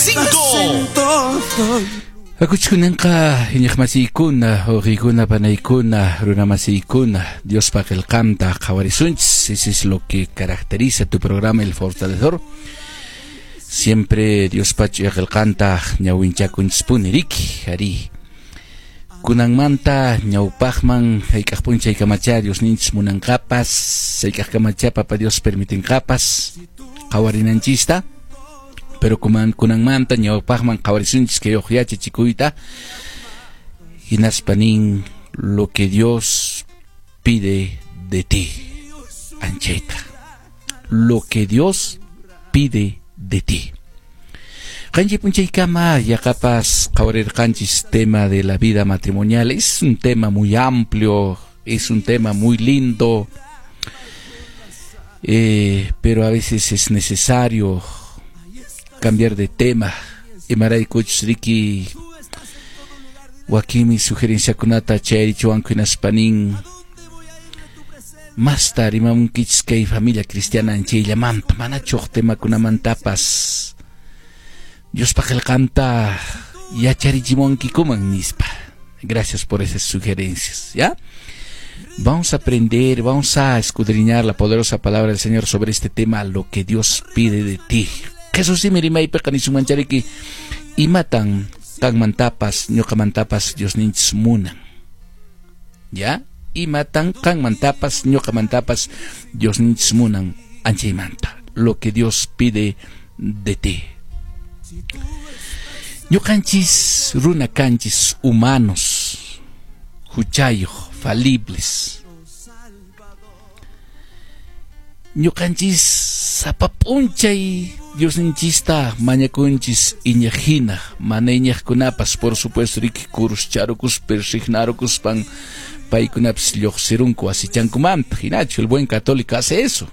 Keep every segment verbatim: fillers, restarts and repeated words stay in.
Cinco. Hakuchkunanqa iñiqmasiykuna, wawqiykuna, panaykuna, runamasiykuna, Diospa qillqanta qhawarisunchis. Ese es lo que caracteriza tu programa El Fortalecedor. Siempre Diospa ch'uya qillqanta ñawinchakunchispuni riki, ari. Kunanmanta ñawpaqman hayk'aq p'unchay kamacha Diosninchis munanqapas, hayk'aq kamacha Papa Dios permitinqapas qhawarinanchista. Pero kuman kunanmanta ñawpaqman qhawarisunchis kay uq yachachikuyta hinaspa nin lo que Dios pide de ti, anchayta. Lo que Dios pide de ti. Qanchi p'unchaykama yaqapas qhawarirqanchis tema de la vida matrimonial. Es un tema muy amplio, es un tema muy lindo, eh, pero a veces es necesario cambiar de tema. Imaraykuchus riki wakinmi sugerenciakunata chayarichiwanku hinaspa nin masta rimamunkichis kay familia cristiana anchayllamanta manachu huk temakunamantapas Diospa qillqanta yacharichimunkikuman nispa. Gracias por esas sugerencias, ¿ya? Vamos a aprender, vamos a escudriñar la poderosa palabra del Señor sobre este tema, lo que Dios pide de ti. Jesús simi rimaypiqa nisunmanchariki imatan qanmantapas ñuqamantapas Diosninchis munan. ¿Ya? Imatan qanmantapas ñuqamantapas Diosninchis munan anchaymanta. Lo que Dios pide de ti. Ñuqanchis runa kanchis humanos, huchayuq, falibles. Ñuqanchis sapa p'unchay Diosninchista mañakunchis iñaqhina, mana iñaqkunapas, por supuesto, riki kuruscharukuspa, persignarukuspan paykunapas lluqsirunku wasichankumanta. Hinachu, el buen católico hace eso.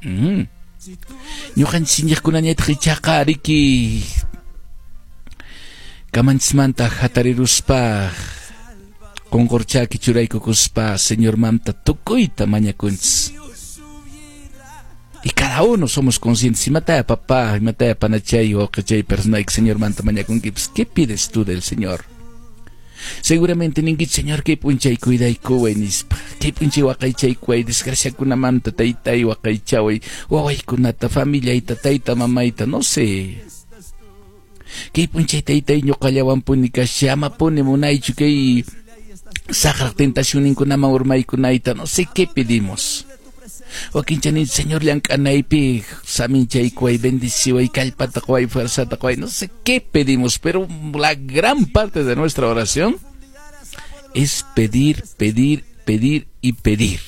Mm. Ñuqanchis iñaqkunañataq ichaqa riki kamanchismanta hatariruspa qunqurchaki churaykukuspa Señormanta tukuyta mañakunchis. Y cada uno somos conscientes. Imataya papá, imataya panachay, wawqichay, personayki Señormanta mañakunki, pues, ¿qué pides tú del Señor? Seguramente ninkichis, Señor, kay p'unchay cuidaykuway nispa, kay p'unchay waqaychaykuway, desgraciakunamanta taytay waqaychaway, wawaykunata, familiayta, tayta, mamayta, no sé. Kay p'unchay taytay ñuqallawanpuni kasha, amapuni munaychu kay saqraq tentacionninkunaman urmaykunayta, no sé qué pedimos. Wakincha nin, Señor, llank'anaypi saminchaykuway, bendiciway, kallpata quway, fuerzata quway, no sé qué pedimos, pero la gran parte de nuestra oración es pedir, pedir, pedir y pedir.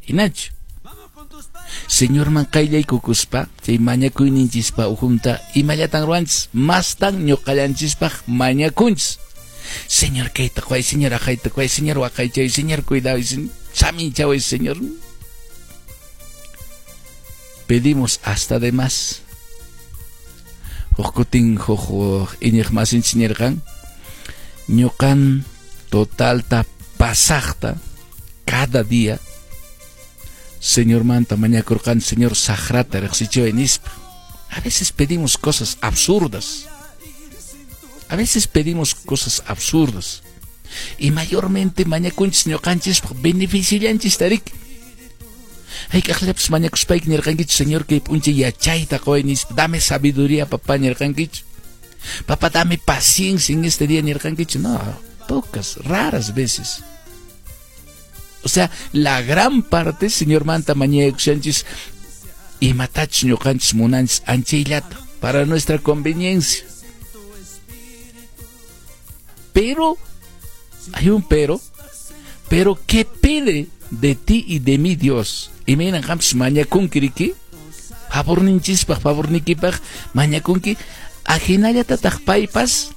Hinachu, Señorman qayllaykukuspa, chay mañakuyninchispa ukhunta imallatan ruwanchis, mastan ñuqallanchispaq mañakunchis. Señor, kayta quway, Señor, aqayta quway, Señor, waqaychay, Señor, cuidaway, saminchaway, Señor. Pedimos hasta de más. Huk kutin huk iñiqmasinchis nirqan, ñuqan totalta pasaqta cada día Señormanta mañakurqan, Señor, saqrata riqsichiway nispa. A veces pedimos cosas absurdas. A veces pedimos cosas absurdas. Y mayormente mañakunchis ñuqanchispaq beneficiollanchista riki. Hayk'aqllapas mañakuspayki nirqankichu, Señor, kay p'unchay yachayta quway nispa, dame sabiduría, papá, nirqankichu. Papá, dame paciencia en este día, nirqankichu. No, pocas, raras veces. O sea, la gran parte, Señormanta mañakushanchis imatachus ñuqanchis munanchis anchayllata para nuestra conveniencia. Pero, hay un pero, pero ¿qué pide de ti y de mí Dios? Imaynan qampas mañakunki riki, favorninchispaq, favornikipaq mañakunki, ajinallatataq paypas